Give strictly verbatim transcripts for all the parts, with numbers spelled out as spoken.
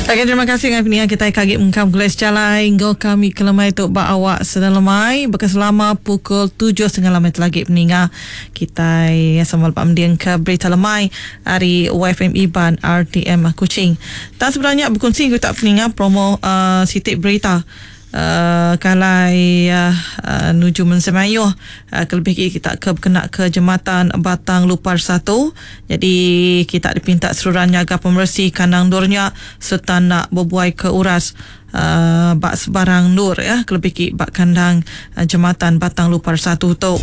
Okay, terima kasih dengan peningan kita kagi mengkam gulai sejalai ngau kami kelemai tu ba awak sedang lemai berkeselama pukul tujuh setengah lemai lagi peningan kita sama lepak mending ke berita lemai hari Y F M Iban R T M Kuching. Tak sebenarnya berkongsi kita peningan promo uh, sitik berita Uh, kalai uh, uh, nuju mensemayuh uh, kelebih kita ke kena ke jembatan Batang Lupar satu. Jadi kita dipinta seruran jaga pembersih kandang durnya serta nak berbuai ke uras uh, bak sebarang nur ya kelebih ki bak kandang uh, jembatan Batang Lupar satu tu.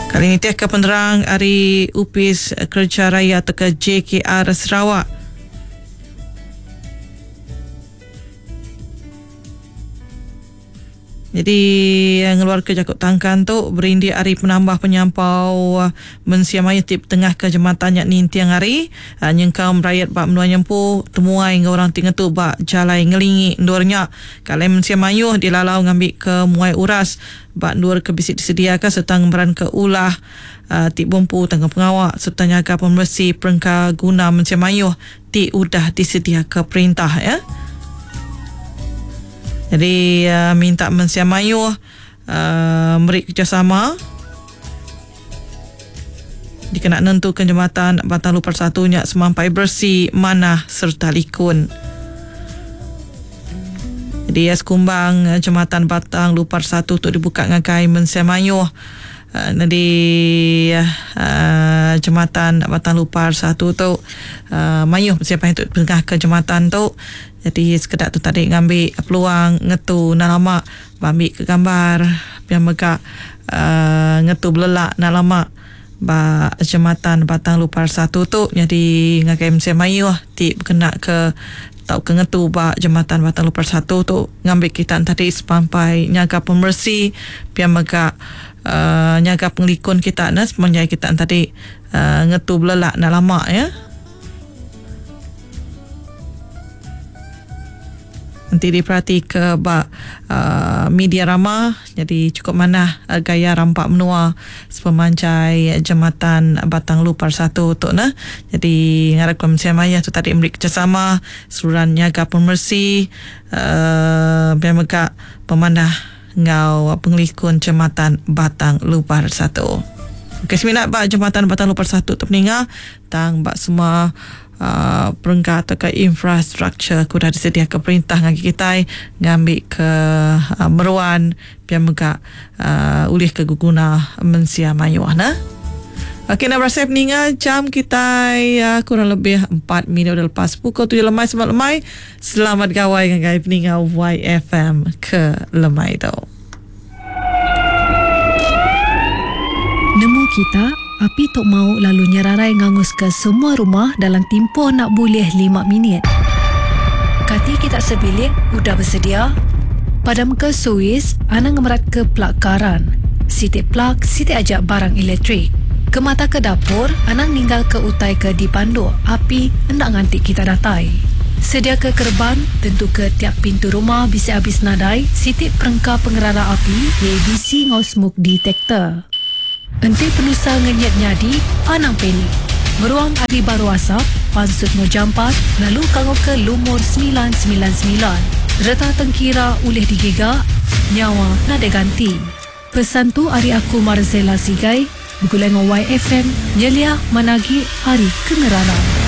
Kali ini teh ke penerang hari Upis Kerja Raya atau ke J K R Sarawak. Jadi ngeluar ke jakut tangkan tu berindi hari penambah penyampau mensia maya tip tengah ke jematan nyak nintiang hari nyengkam rakyat bak menua nyempu temuai dengan orang tinggal tu bak jalai ngelingi ndurnya kalau mensia mayuh dilalau ngambil ke muai uras bak ndur ke bisik disediakan serta ngemberan ke ulah uh, tip bumpu tangga pengawak serta nyaga pembersih perengka guna mensia mayuh ti udah disediakan perintah ya. Jadi uh, minta mensia mayuh uh, beri kerjasama dikena nentukan jembatan Batang Lupar satu nyak semampai bersih, manah serta likun. Jadi ya, sekumbang jembatan Batang Lupar satu tu dibuka ngagai mensia mayuh. Uh, jadi uh, jembatan Batang Lupar satu tu uh, mayuh siapa yang tu tengah ke jembatan tu. Jadi sekedar tu tadi ngambil peluang ngetu nak lama ambil ke gambar biar megak uh, ngetu belelak nak lama ba jembatan Batang Lupar satu tu. Jadi ngagai mensia mayuh ti berkena ke tau ke ngetu ba jembatan Batang Lupar satu tu ngambil kita tadi sampai nyaga pembersih biar megak Uh, nyaga pengelikun kita nah semenjak kita tadi uh, ngetu belelak nak lama ya. Nanti diperhati ke bak uh, media ramah jadi cukup manah uh, gaya rampak menua sepemanjai jembatan Batang Lupar satu tu nah. Jadi ngarap Kementerian Maya tu tadi memberi kerjasama seluruhan nyaga pembersih uh, biar megak pemanah ngau pengelikun jembatan Batang Lupar satu. Okey, seminat bak jembatan Batang Lupar satu tu peninga tang bak semua uh, perengka atau ke infrastruktur kuda disediakan perintah ngagi kita ngambil ke uh, meruan biar megak uh, ulih ke guna mensia mayuh nah. Okey, nak berasa peninga jam kita uh, kurang lebih empat minit dah lepas pukul tujuh lemai selamat lemai. Selamat gawai dengan peninga Y F M ke lemai tu. Nemu kita, api tok mau lalu nyerarai ngangus ke semua rumah dalam tempoh nak boleh lima minit. Kati kita sebilik udah bersedia. Padam ke suis, anang ngemerat ke plak karan. Sitik plak, sitik ajak barang elektrik. Ke mata ke dapur, anang ninggal ke utai ke di panduk, api hendak ngantik kita datai. Sedia ke kerban, tentu ke tiap pintu rumah bisa habis nadai, sitik perengka pengerara api, A B C ngau smoke detector. Enti penusa ngenyet nyadi, anang panik. Meruang api baru asap, pansut ngo jampat, lalu kangau ke lumur sembilan sembilan sembilan. Reta tengkira ulih digiga, nyawa nadai ganti. Pesan tu ari aku Marzela Sigai, Begulai dengan Y F M, Nyelia Managi Hari Kengerara.